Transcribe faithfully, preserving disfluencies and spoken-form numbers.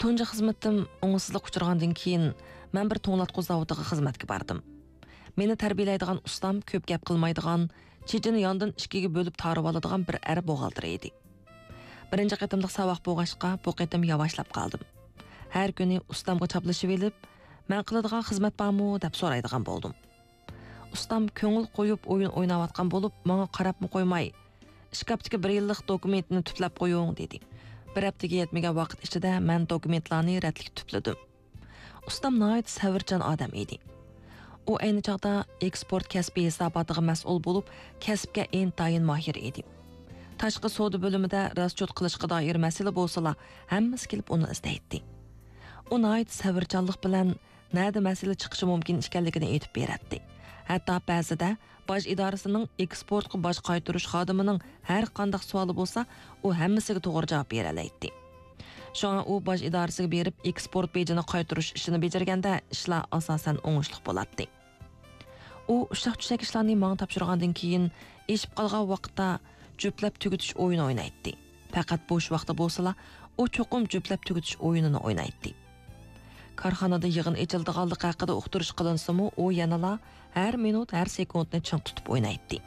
تۇنجى خىزمىتىم ئوڭۇشسىزلىققا ئۇچرىغاندىن كېيىن، مەن بىر توڭلاتقۇ زاۋۇتىغا خىزمەتكە باردىم. مېنى تەربىيەلەيدىغان ئۇستام كۆپ گەپ قىلمايدىغان، چېچىنى ياندىن ئىككىگە بۆلۈپ تارىۋالىدىغان بىر ئەر بوغالتىر ئىدى. بىرىنچى قېتىملىق ساۋاق بولغاچقا، بۇ قېتىم ياۋاشلاپ قالدىم. ھەر كۈنى ئۇستامغا چاپلىشىۋېلىپ، «مەن قىلىدىغان خىزمەت بارمۇ؟» دەپ سورايدىغان بولدۇم. ئۇستام كۆڭۈل قويۇپ ئويۇن ئويناۋاتقان بولۇپ، ماڭا قاراپمۇ قويماي، «ئىشكاپتىكى بىر يىللىق دوكۇمېنتنى تۈپلەپ قويۇڭ» دېدى. بىر ھەپتىگە يەتمىگەن ۋاقىت ئىچىدە مەن دوكۇمېنتلارنى رەتلىك تۈپلىدىم. ئۇستام ناھايىتى سەۋرچان ئادەم ئىدى. ئۇ ئەينى چاغدا ئېكسپورت كەسپى ھېساباتىغا مەسئۇل بولۇپ، كەسىپكە ئىنتايىن ماھىر ئىدى. تاشقى سودا بۆلۈمىدە راسچوت قىلىشقا دائىر مەسىلە بولسىلا، ھەممىسى كېلىپ ئۇنى ئىزدەيتتى. ئۇ ناھايىتى سەۋرچانلىق بىلەن نەدە مەسىلە چىقىشى مۇمكىن ئىكەنلىكىنى ئېيتىپ بېرەتتى. ھەتتا بەزىدە باج ئىدارىسىنىڭ ئېكسپورتقا باج قايتۇرۇش خادىمىنىڭ ھەر قانداق سوئالى بولسا، ئۇ ھەممىسىگە توغرا جاۋاب بېرەلەيتتى. شۇڭا ئۇ باج ئىدارىسىگە بېرىپ ئېكسپورت بېجىنى قايتۇرۇش ئىشىنى بېجىرگەندە، ئىشلار ئاساسەن ئوڭۇشلۇق بولاتتى. ئۇ ئۇششاق-چۈششەك ئىشلارنى ماڭا تاپشۇرغاندىن كېيىن، ئېشىپ قالغان ۋاقىتتا جۈپلەپ تۈگىتىش ئويۇنى ئوينايتتى. پەقەت بوش ۋاقتى بولسىلا، ئۇ چوقۇم جۈپلەپ تۈگىتىش ئويۇنىنى ئوينايتتى. كارخانىدا يىغىن ئېچىلىدىغانلىقى ھەققىدە ئۇقتۇرۇش قىلىنسىمۇ، ئۇ يەنىلا ھەر مىنۇت، ھەر سېكۇنتنى چىڭ تۇتۇپ ئوينايتتى.